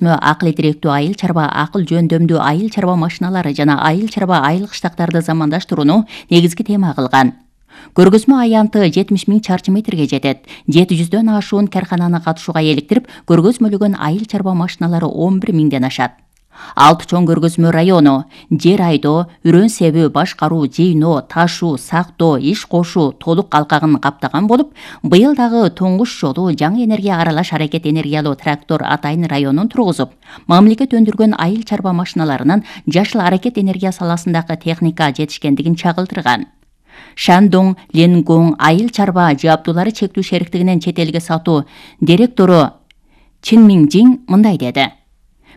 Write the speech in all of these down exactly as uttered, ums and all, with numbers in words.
Акыл идиректүү айыл чарба, акыл жөндөмдүү айыл чарба машиналары жана айыл чарба айылык штактарды замандаштырууну негизги тема кылган. Көргөзмө аянты жетимиш миң чарчы метрге жетет. жети жүздөн ашуун каркананы катышууга эликтирип, көргөзмөлөгөн айыл чарба машиналары он бир миңден ашат. Алты чоң көргөзмө району жер айдоо, үрөн себүү, башкаруу, жыйноо, ташуу, сактоо, иш кошуу толук алкагын каптаган болуп, быйыл дагы туңгуч жолу жаңы энергия аралаш аракет энергиялуу трактор Атайын районун тургузуп, мамлекет өндүргөн айыл чарба машиналарынын жашыл аракет энергия саласындагы техника жетишкендигин чагылдырган. Шандong Ленгong айыл чарба жабдуулары чектүү шериктигинин чет элге сатуу директору Чин Минжин мындай деди.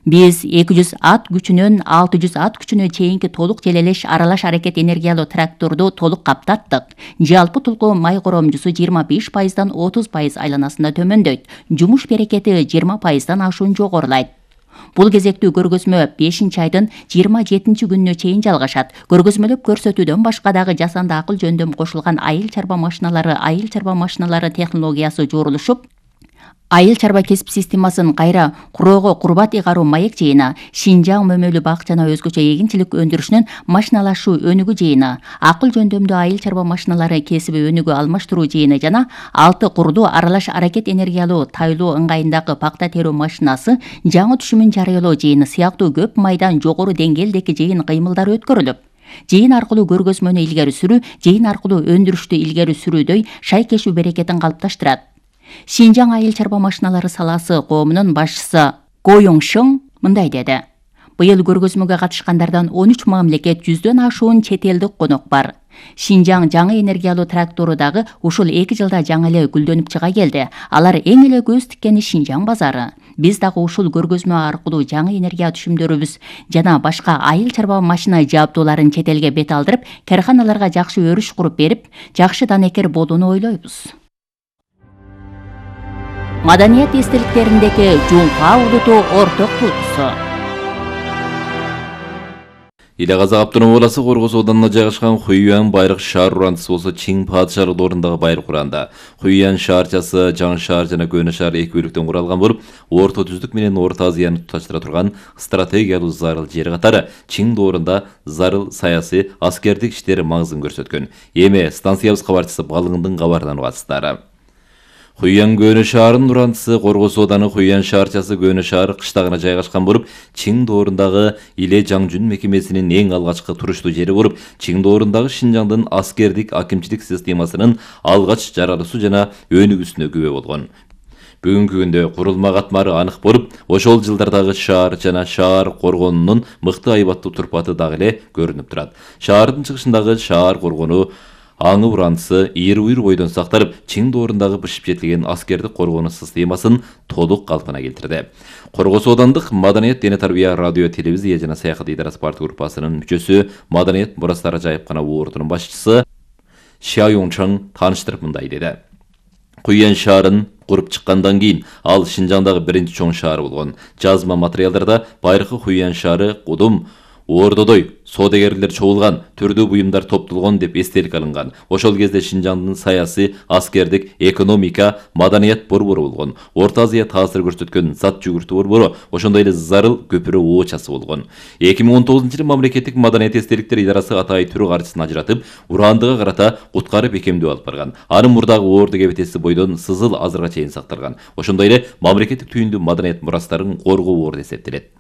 Биз эки жүз ат күчүнөн алты жүз ат күчүнө чейинки толук желелеш аралаш аракет энергиялуу тракторду толук каптаттык. Жалпы тулкуу май коромжусу жыйырма беш пайыздан отуз пайыз айланасында төмөндөйт. Жумуш берекети жыйырма пайыздан ашуун жогорулайт. Бул кезектүү көргөзмө бешинчи айдын жыйырма жетинчи күнүнө чейин жалгашат. Көргөзмөлөп көрсөтүүдөн башка дагы жасанды акыл жөндөм кошулган айыл чарба машиналары, айыл чарба машиналары технологиясы жорулушуп, айыл чарба кесип системасын кайра куроого курбат ыйгаруу маек жыйыны, Шинжаң мөмөлүү бак жана өзгөчө эгинчилик өндүрүшүнүн машиналашуу өнүгүү жыйыны, акыл жөндөмдүү айыл чарба машиналары кесиби өнүгүү алмаштыруу жыйыны жана алты курду аралаш аракет энергиялуу тайлоо ыңгайындагы пакта терүү машинасы жаңы түшүмүн жарыялоо жыйыны сыяктуу көп майдан жогору деңгээлдеги жыйын кыймылдары өткөрүлүп, жыйын аркылуу көргөзмөнү илгери сүрүү, жыйын аркылуу өндүрүштү илгери сүрүүдөй шайкешүү берекетин калыпташтырат. Шинжаң айыл чарба машиналары саласы коомунун башчысы Го Йоңшың мындай деди. Быйыл көргөзмөгө катышкандардан он үч мамлекет, жүздөн ашуун чет элдик конок бар. Шинжаң жаңы энергиялуу трактору дагы ушул эки жылда жаңы эле гүлдөнүп чыга келди. Алар эң эле көз тиккени Шинжаң базары. Биз дагы ушул көргөзмө аркылуу жаңы энергия түшүмдөрүбүз жана башка айыл чарба машина жабдууларын чет элге бет алдырып, карканаларга жакшы өрүш куруп берип, жакшы данекер болууну ойлойбуз. Маданият эстеликтериндеги Жуңка улуту орток туутусу. Иле Казак автономдук областы Коргоз ауданына жайгашкан Хуюан байрак шаар урандысы болсо Чиң падышалык ордундагы байрак уранда. Хуюан шаарчасы жаңы шаар жана көөнө шаар эки бөлүктөн куралган болуп, Орто түздүк менен Орто Азияны туташтыра турган стратегиялуу зарыл жери катары Чиң доорунда зарыл саясий, аскердик иштери маңызын көрсөткөн. Эми станциябыз кабарчысы Балыңдын кабарынан угасыздар. Хуюан көөнө шаарынын урандысы Коргоз ауданы Хуюан шаарчасы көөнө шаар кыштагына жайгашкан болуп, Чиң доорундагы Иле Жаңжүн мекемесинин эң алгачкы туруштуу жери болуп, Чиң доорундагы Шинжаңдын аскердик акимчилик системасынын алгач жаралуусу жана өнүгүүсүнө күбө болгон. Бүгүнкү күндө курулма катмары анык болуп, ошол жылдардагы шаар жана шаар коргонунун мыкты айбаттуу турпаты дагы эле көрүнүп турат. Шаардын чыгышындагы шаар коргону аңы урандысы ийри-уйр бойдон сакталып, Чиң доорундагы бышып жетилген аскердик коргонуу системасын толук калпына келтирди. Коргоз аудандык Маданият, дене тарбия, радио, телевизия жана саякат идарасы парт группасынын мүчөсү, Маданият мурастары жайыпкана ордунун башчысы Ша Йоңчың тааныштырып мындай деди. Хуюан шаарын куруп чыккандан кийин ал Шинжаңдагы биринчи чоң шаар болгон. Жазма материалдарда байыркы Хуюан шаары кудум Ордодой соодагерлер чогулган, түрдүү буюмдар топтолгон деп эстелик алынган. Ошол кезде Шинжаңдын саясий, аскердик, экономика, маданият борбору болгон. Орто Азия таасир көрсөткөн зат жүгүртүү борбору, ошондой эле зарыл көпүрө оочасы болгон. эки миң он тогузунчу жылы мамлекеттик маданият эстеликтер идарасы Атай түрү каржысын ажыратып, урандыга карата уткары бекемдөө алып барган. Анын мурдагы орду кебетеси бойдон сызыл азырга чейин сакталган. Ошондой эле мамлекеттик түйүндүү маданият мурастарын коргоо орду эсептелет.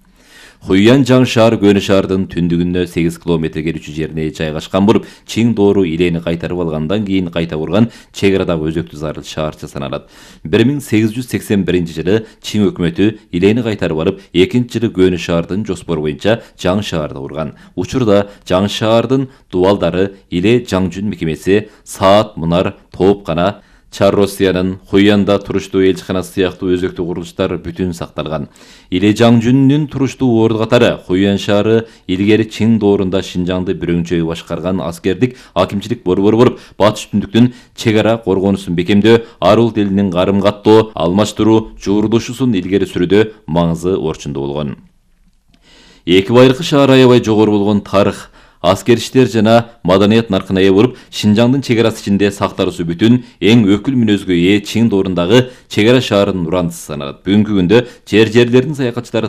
Хуюан жаңы шаар көөнө шаардын түндүгүнө сегиз километрге үчү жерине жайгашкан болуп, Чиң доору Илени кайтарып алгандан кийин кайта курган чек арадагы өзөктүү зарыл шаарча саналат. бир миң сегиз жүз сексен биринчи жылы Чиң өкмөтү Илени кайтарып алып, экинчи жылы көөнө шаардын жоспору боюнча жаңы шаарды курган. Учурда жаңы шаардын дубалдары Иле Жаңжүн мекемеси, Саат Мунар, Тоопкана, Чар Россиянын Хуюанда туруштуу элчиканасы сыяктуу өзөктүү курулуштар бүтүн сакталган. Иле Жаңжүнүн туруштуу орду катары Хуюан шаары илгери Чиң доорунда Шинжаңды бирөңчөй башкарган аскердик акимчилик борбору болуп, батыш түндүктүн чек ара коргонуусун бекемдөө, арул тилинин карым каттоо, алмаштыруу, жуурулушуусун илгери сүрүүдө маңызы орчундуу болгон. Эки байыркы шаар аябай жогору болгон тарых, аскер иштер жана маданият наркына ээ болуп, Шинжаңдын чек арасы ичинде сакталуусу бүтүн эң өкүл мүнөзгө ээ Чиң доорундагы чек ара шаарынын урандысы саналат. Бүгүнкү күндө жер жерлердин саякатчылары